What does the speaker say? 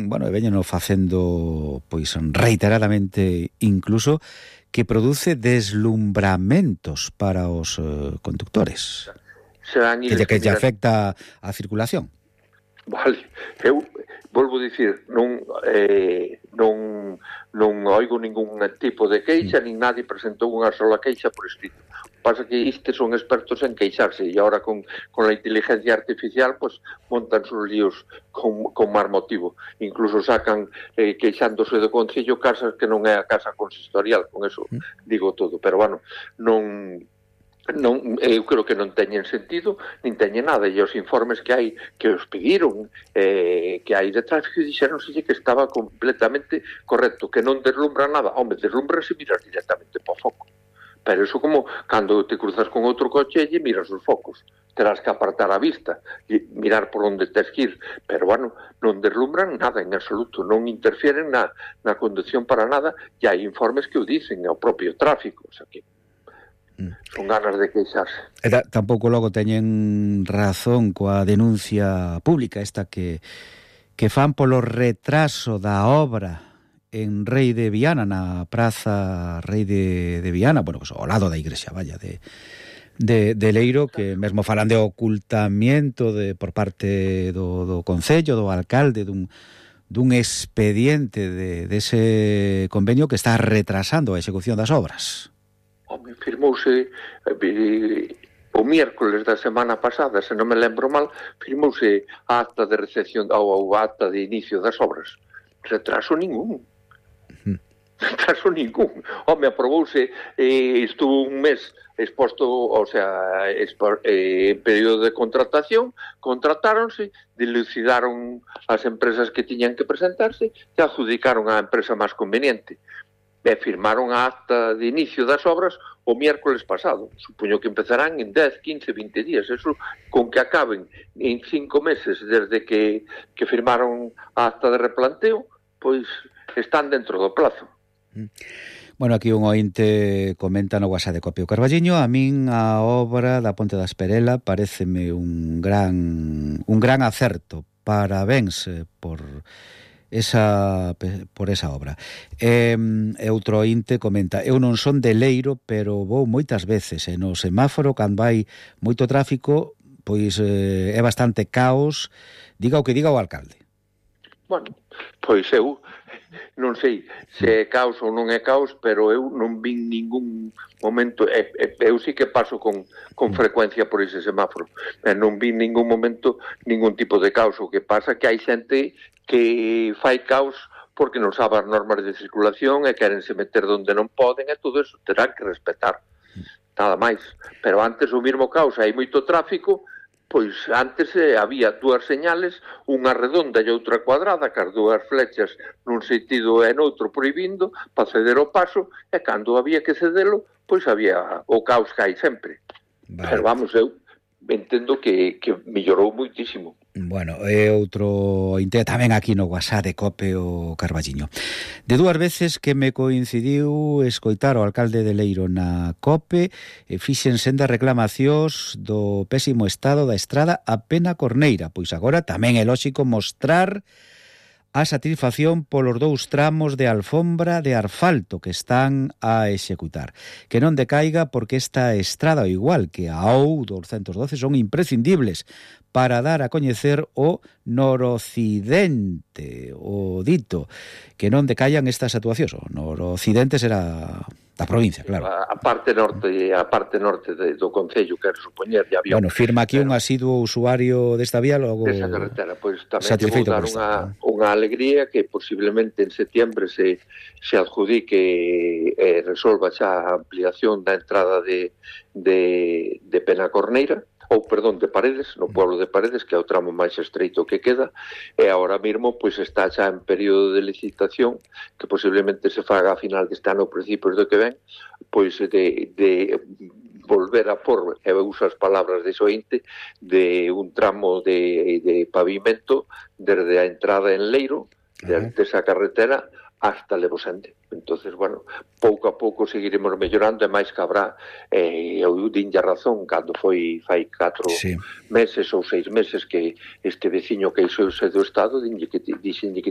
bueno, e veñeno facendo pois reiteradamente incluso, que produce deslumbramentos para os conductores, que lle afecta a circulación. Vale, eu volvo a dicir, non oigo ningún tipo de queixa, nin nadie presentou unha sola queixa por escrito. Pasa que estes son expertos en queixarse e agora con a inteligencia artificial pues montan sus líos con máis motivo. Incluso sacan queixándose do Concello casas que non é a casa consistorial, con eso digo todo, pero bueno, eu creo que non teñen sentido nin teñen nada, e os informes que hai que os pediron que hai de tráfico dixéronselle que estaba completamente correcto, que non deslumbra nada. Home, deslumbra se miras directamente para o foco, pero eso como cando te cruzas con outro coche e miras os focos, terás que apartar a vista e mirar por onde tes que ir, pero bueno, non deslumbran nada en absoluto, non interfieren na conducción para nada, e hai informes que o dicen, o propio tráfico, o sea que son ganas de queixarse. Tampouco logo teñen razón coa denuncia pública esta que fan polo retraso da obra en Rei de Viana, na praza Rei de Viana, bueno, pues, ao lado da igrexa, vaya, de Leiro, que mesmo falan de ocultamiento por parte do Concello, do alcalde, dun expediente dese convenio que está retrasando a execución das obras. Home, firmouse o miércoles da semana pasada, se non me lembro mal, firmouse a acta de recepción ou a acta de inicio das obras. Retraso ningún. Retraso ningún. Home, aprobouse, estuvo un mes exposto, o sea, en período de contratación, contratáronse, dilucidaron as empresas que tiñan que presentarse e adjudicaron á empresa máis conveniente. E firmaron a acta de inicio das obras o miércoles pasado. Supoño que empezarán en 10, 15, 20 días. Eso con que acaben en 5 meses desde que firmaron a acta de replanteo, pois están dentro do plazo. Bueno, aquí un ointe comenta no WhatsApp de Copio Carballiño: a min a obra da Ponte da Esperela pareceme un gran acerto. Parabéns por esa obra. Outro ointe comenta: eu non son de Leiro, pero vou moitas veces, e no semáforo cando hai moito tráfico, pois é bastante caos, diga o que diga o alcalde. Bueno, pois eu non sei se é caos ou non é caos, pero eu non vin ningún momento, eu sí que paso con frecuencia por ese semáforo, non vin ningún momento ningún tipo de caos. O que pasa que hai xente que fai caos porque non sabe as normas de circulación e querense meter donde non poden, e todo eso terán que respetar, nada máis. Pero antes o mismo caos, hai moito tráfico, pois antes había dúas señales, unha redonda e outra cuadrada, que as dúas flechas nun sentido e noutro prohibindo para ceder o paso, e cando había que cedelo, pois había o caos que hai sempre. Vale. Pero vamos, eu entendo que mellorou moitísimo. Bueno, é outro inte tamén aquí no WhatsApp de Cope o Carballiño. De dúas veces que me coincidiu escoitar o alcalde de Leiro na Cope, fixen sendas reclamacións do pésimo estado da estrada a Pena Corneira, pois agora tamén é lóxico mostrar a satisfacción polos 2 tramos de alfombra de asfalto que están a executar. Que non decaiga, porque esta estrada, ao igual que a OU212, son imprescindibles para dar a coñecer o noroccidente, o dito, que non decaian estas actuacións. O noroccidente será da provincia, claro. A parte norte do Concello, quero supoñer, ya había. Bueno, firma aquí un asiduo usuario desta vía, logo desa carretera, pois tamén lle vou dar unha alegría que posiblemente en setiembre se adjudique e resolva xa a ampliación da entrada de Pena Corneira, ou, perdón, de Paredes, no pueblo de Paredes, que é o tramo máis estreito que queda, e agora mesmo pois está xa en período de licitación, que posiblemente se faga a final deste ano ou principios do que ven, pois de volver a por, e uso as palabras de Sointe, de un tramo de pavimento desde a entrada en Leiro, desde esa carretera, hasta Levosende. Entonces, bueno, pouco a pouco seguiremos mellorando, e máis que habrá, eu dinlle a razón, cando foi fai 4 meses ou 6 meses que este veciño queixouse do Estado, dixenlle que